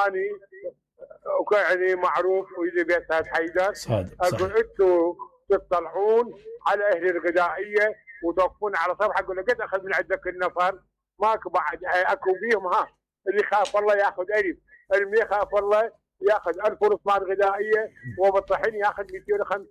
اني يعني معروف ويجي بيت سعد حيدر اقول انتم تطلعون على اهل الغذائيه وتوقفون على صفحه. اقول له قد اخذ من عندك النفر ماكو بعد اكو بيهم اللي يخاف الله ياخذ الف، اللي يخاف الله ياخذ 1000 رطبان غذائيه وبالطحين ياخذ 250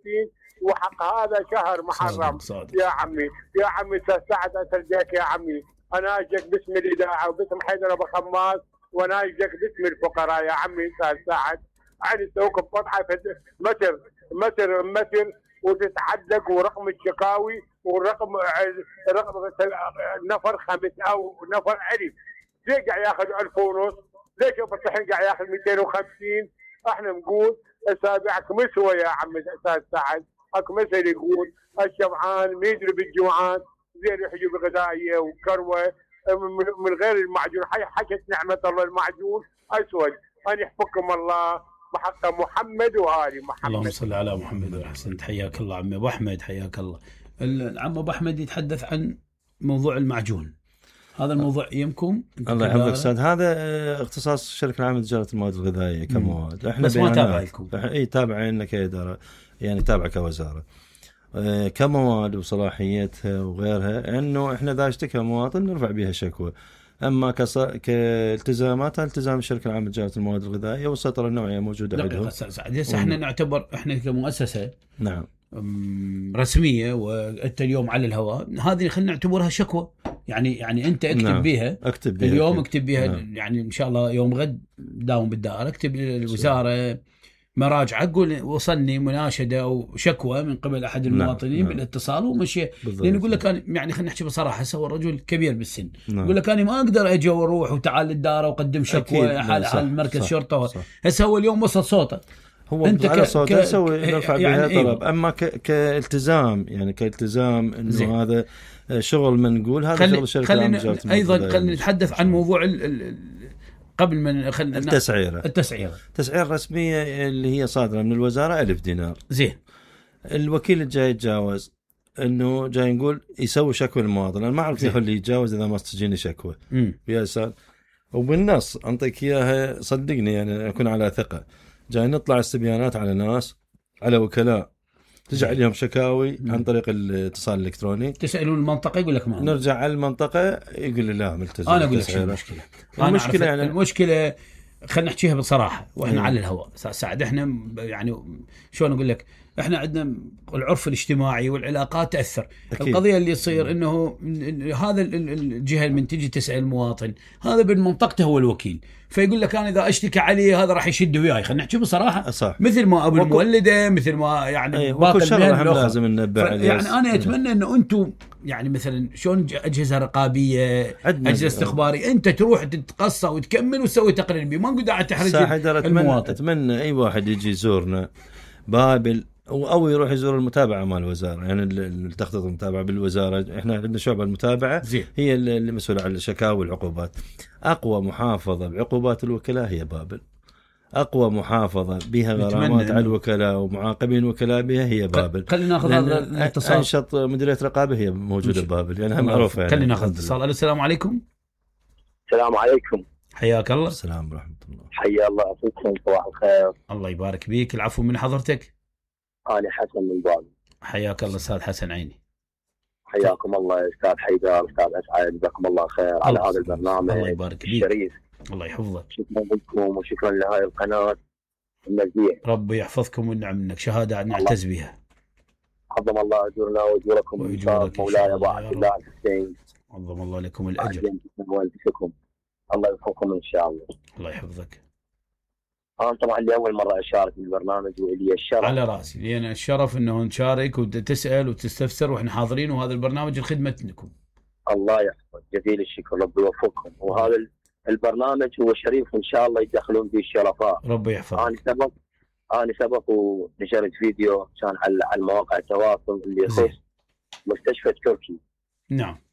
وحق هذا شهر محرم. يا عمي سعد اسجلك يا عمي، انا اجيك باسم الاذاعه وباسم حيدر ابو خماس وانا اجيك باسم الفقراء يا عمي سعد. يعني توقف فتحه متر وتتعدق ورقم الشكاوي ورقم نفر خمس او نفر الف. ليش قاعد ياخذ 1000 ونص؟ ليش ابو الطحين قاعد ياخذ 250؟ احنا نقول اسابيعك مسوى يا عمي استاذ سعد، اكو مثل يقول الشبعان ما يدري بالجوعان زين يحجب غذائيه وكروه من غير المعجون. حكت نعمه الله المعجون اسود. ان يحفظكم الله بحق محمد وآل محمد. اللهم صل على محمد وحسن. حياك الله عمي ابو احمد، حياك الله. العم ابو احمد يتحدث عن موضوع المعجون. هذا الموضوع يمكم الله يحفظك استاذ. هذا اختصاص الشركه العامه لتجاره المواد الغذائيه كمواد. احنا بس ما تابعكم. اي تابعين كاداره، يعني تابعه كوزاره كمواد وصلاحيتها وغيرها، انه احنا اذا اشتكى مواطن نرفع بها شكوى. اما كالتزامات التزام الشركه العامه لتجاره المواد الغذائيه والسيطره النوعيه موجوده عندهم. هسه احنا نعتبر احنا كمؤسسه نعم رسميه وانت اليوم على الهواء، هذه خلينا نعتبرها شكوى. يعني انت اكتب نعم. بيها اليوم اكتب بيها نعم. يعني ان شاء الله يوم غد داوم بالدائره اكتب للوزاره مراجعه اقول وصلني مناشده او شكوى من قبل احد المواطنين نعم. بالاتصال ومشي. لان يقول لك يعني خلينا نحكي بصراحه هو رجل كبير بالسن نعم. يقول لك انا ما اقدر اجي واروح وتعال للدائره واقدم شكوى حال مركز شرطه. هسه هو اليوم وصل صوته، هو انت على صوته يسوي نرفع بها طلب. اما كالتزام يعني كالتزام انه زين. هذا شغل من نقول هذا شغل الشركه العامه. ايضا خلينا نتحدث عن موضوع قبل ما التسعيره الرسميه اللي هي صادره من الوزاره 1000 دينار. زين. الوكيل الجاي يتجاوز انه جاي نقول يسوي شكوى للمواطن. انا ما اعرف كيف اللي يتجاوز اذا ما تجيني شكوى يا سال. وبالنص انطيك اياها صدقني يعني اكون على ثقه. جاي نطلع استبيانات على ناس على وكلاء تجي عليهم شكاوي عن طريق الاتصال الالكتروني. تسالون المنطقه يقول لك ما نرجع على المنطقه يقول لي لا ملتزم. انا اقول لك شو المشكله. المشكله يعني المشكله خلينا نحكيها بصراحه واحنا على الهواء سعد. احنا يعني شلون اقول لك احنا عندنا العرف الاجتماعي والعلاقات تاثر. أكيد. القضيه اللي يصير انه هذا الجهه من تجي تسال المواطن هذا بالمنطقته هو الوكيل، فيقول لك انا اذا اشتكي عليه هذا راح يشد وياي. خلينا نحكي بصراحه صح. مثل ما ابو المولده مثل ما يعني باقي المهن لازم ننبه عليه. يعني انا اتمنى انه انتم يعني مثلا شلون اجهزه رقابيه اجهزه استخباريه انت تروح تتقصى وتكمل وتسوي تقرير بيه. ما نقول قاعد تحرج المواطن. اتمنى اي واحد يجي يزورنا بابل او يروح يزور المتابعه مال الوزاره، يعني التخطيط المتابعه بالوزاره. احنا عندنا شعبه المتابعه هي اللي مسؤوله عن الشكاوى والعقوبات. اقوى محافظه بعقوبات الوكلاء هي بابل. اقوى محافظه بها غرامات على الوكلاء ومعاقبين الوكلاء بها هي بابل. خلينا ناخذ هذا الاتصال. انشط مديريه رقابه هي موجوده ببابل، يعني معروفه. يعني خلينا ناخذ اتصال. السلام عليكم. السلام عليكم. حياك الله. السلام ورحمه الله. حيا الله فيكم. صباح الخير. الله يبارك بيك. العفو من حضرتك. أنا حسن من بابل. حياك الله أستاذ حسن عيني. حياكم الله أستاذ حيدر أستاذ أسعد جزاكم الله خير على هذا البرنامج. الله يبارك بيك. الشريف. الله يحفظك. شكرا لكم وشكرا لهاي القناة النزيه. ربي يحفظكم ونعم منك شهادة نعتز بها. عظم الله أجورنا وأجوركم مولاي أبو عبد الله الحسين. عظم الله لكم الأجر. الله يوفقكم إن شاء الله. الله يحفظك. أنا طبعا لأول مرة أشارك بالبرنامج وإلي الشرف. على رأسي لأن الشرف إنه نشارك وتسأل وتستفسر وإحنا حاضرين وهذا البرنامج الخدمة لكم. الله يحفظ جزيل الشكر ربي يوفقكم. وهذا البرنامج هو شريف إن شاء الله يدخلون به الشرفاء. ربي يحفظك. أنا سبق ونشرت فيديو كان على مواقع التواصل اللي يخص مستشفى تركي. نعم.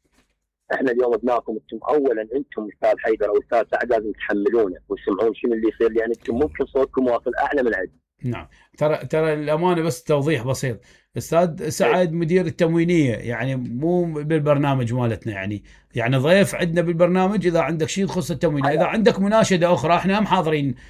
احنا اليوم ابنائكم انتم اولا انتم استاذ حيدر او استاذ سعد لازم تحملونه وتسمعون شنو اللي يصير لان انتم ممكن صوتكم واصل اعلى من عندنا. نعم ترى الامانه بس توضيح بسيط. استاذ سعد مدير التموينيه يعني مو بالبرنامج مالتنا يعني ضيف عندنا بالبرنامج. اذا عندك شيء يخص التموينيه اذا عندك مناشده اخرى احنا هم حاضرين